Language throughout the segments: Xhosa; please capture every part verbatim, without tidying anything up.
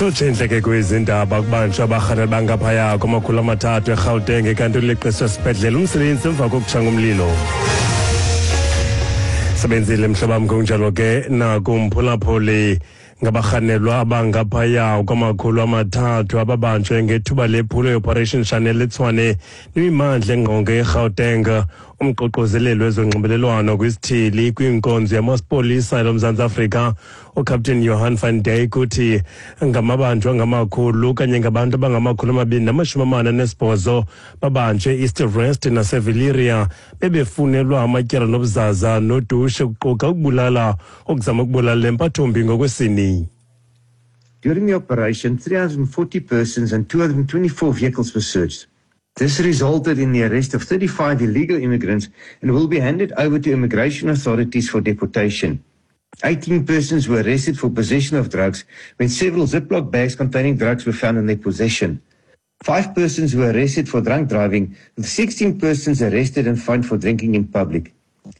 Tshotshe intleke kwezindaba kubanjwa abarhaneli bangaphaya kwamakhulu amathathu eGauteng kanti uleqiswe esibhedlele umsebenzi emva kokutsha ngomlilo. Sebenzile mhlobam, kunjalo ke nakumphulaphuli. Ngabarhanelwa abangaphaya kwamakhulu amathathu ababanjwe ngethuba lephulo i-Operation Shanela eTshwane nemimandla engqonge eGauteng. Umququzeleli wezonxibelelwano kwisithili kwinkonzo yamapolisa loMzantsi Afrika uCaptain Johan van Dyk uthi ngamabanjwa angamakhulu okanye ngabantu abangamakhulu amabini namashumi amane anesibhozo babanjwe East Rest naseVillieria bebefunelwa amatyala nobuzaza nodushe kuquka ukubulala, ukuzama ukubulala empathombi ngokwesini. During the operation, three hundred forty persons and two hundred twenty-four vehicles were searched. This resulted in the arrest of thirty-five illegal immigrants and will be handed over to immigration authorities for deportation. eighteen persons were arrested for possession of drugs when several Ziploc bags containing drugs were found in their possession. Five persons were arrested for drunk driving, with sixteen persons arrested and fined for drinking in public.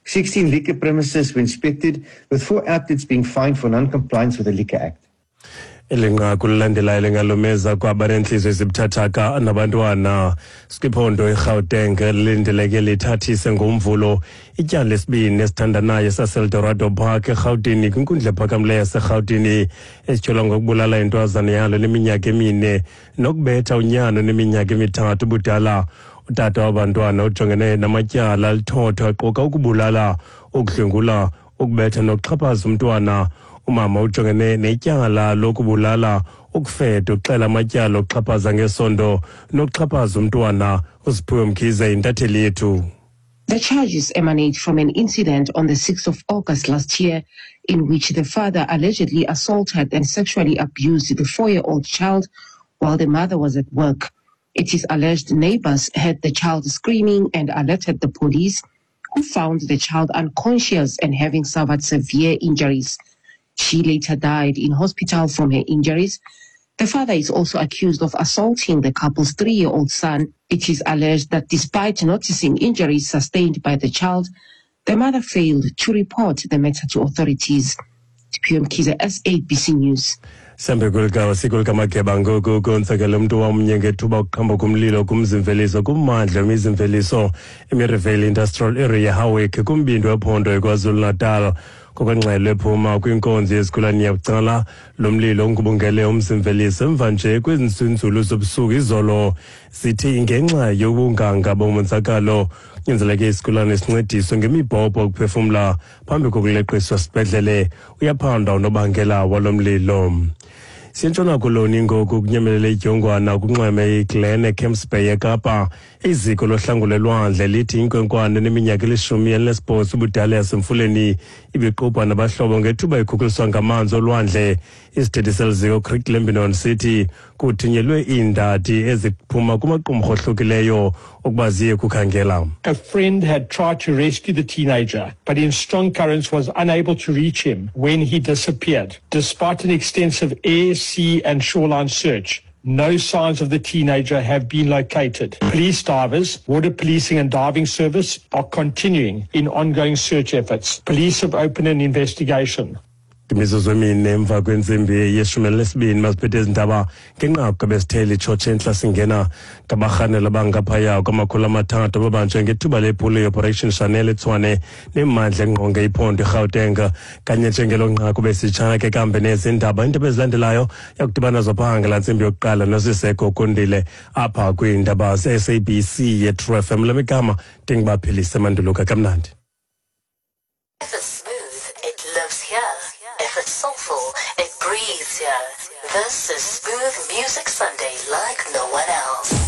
sixteen liquor premises were inspected, with four outlets being fined for non-compliance with the Liquor Act. Eli nqaku lilandelayo lingalumeza kwabanentliziyo ezibuthathaka nabantwana. Sikwiphondo iGauteng lilindeleke lithathise ngomvulo ityala lesibini esithandanayo saseEldorado Park eRhawutini kwinkundla ephakamileyo yaseRhawutini esityholwa ngokubulala intwazana yalo neminyaka emine nokubetha unyana oneminyaka emithathu ubudala. Utata wabantwana ujongene namatyala alithotho aquka ukubulala, ukudlwengula, ukubetha nokuxhaphaza umntwana. Umama ujongene netyala lokubulala, ukufeda, uxela amatyala okuxhaphaza ngesondo nokuxhaphaza umntwana. USiphiwe Mkhize intatheli yethu. The charges emanate from an incident on the sixth of August last year in which the father allegedly assaulted and sexually abused the four-year-old child while the mother was at work. It is alleged neighbors heard the child screaming and alerted the police, who found the child unconscious and having suffered severe injuries. She later died in hospital from her injuries. The father is also accused of assaulting the couple's three-year-old son. It is alleged that despite noticing injuries sustained by the child, the mother failed to report the matter to authorities. P M Kiza, S A B C News. Sihambe kweli siko likamageba ngoku konzakele umntu wamnye ngethuba ukuqhambuka kumlilo kumzimveliso kummandla wemizimveliso eMerivale Industrial Area Howick kumbindi wephondo eKwaZulu-Natal. Ngokwengxelo ephuma kwinkonzo yezigulane yabucala, lo mlilo ungubungele umzimveliso emva nje kwezinzulu zobusuku izolo. Sithi ngenxa yobunganga bomonzakalo kunyanzeleke isigulane sincediswe ngemibhobho ukuphefumla phambi kokuleqiswa esibhedlele. Uyaphandwa unobangela walo mlilo. Siyentshona Koloni ngoku kunyemelele idyongwana kunxweme iGlen eCamps Bay eKapa. Iziko lohlangulo lwandle lithi inkwenkwana eneminyaka elishumi elinesibhozo ubudala yasemfuleni ibiqubha nabahlobo ngethuba ikhukuliswa ngamanzi olwandle. Isithethi seli ziko Craig Lambinon sithi kuthunyelwe iindadi eziphuma kumaqumrhu ohlukileyo ukuba ziye kukhangela. A friend had tried to rescue the teenager, but in strong currents was unable to reach him when he disappeared. Despite an extensive air, sea and shoreline search, no signs of the teenager have been located. Police divers, water policing and diving service are continuing in ongoing search efforts. Police have opened an investigation. Imizuzu emine emva kwentsimbi yeshumi elinesibini masiphethe ezi ndaba ngenqaku ebesithele itshotshe entla singena ngabarhanelwa abangaphaya kwamakhulu amathathu ababanjwe ngethuba lephulo i-Operation Shanela eTshwane nemmandla engqonge iphondo iGauteng. Kanye njengelo nqaku besitshana ke kambe nezi ndaba, iindaba ezilandelayo yakudibana zopha ngala ntsimbi yokuqala noSiseko Kondile apha kwiindaba ze-S A B C ye-True F M. Lamigama ndingubaphilise manduluka kamnandi. If it's smooth, it lives here. If it's soulful, it breathes here. This is Smooth Music Sunday like no one else.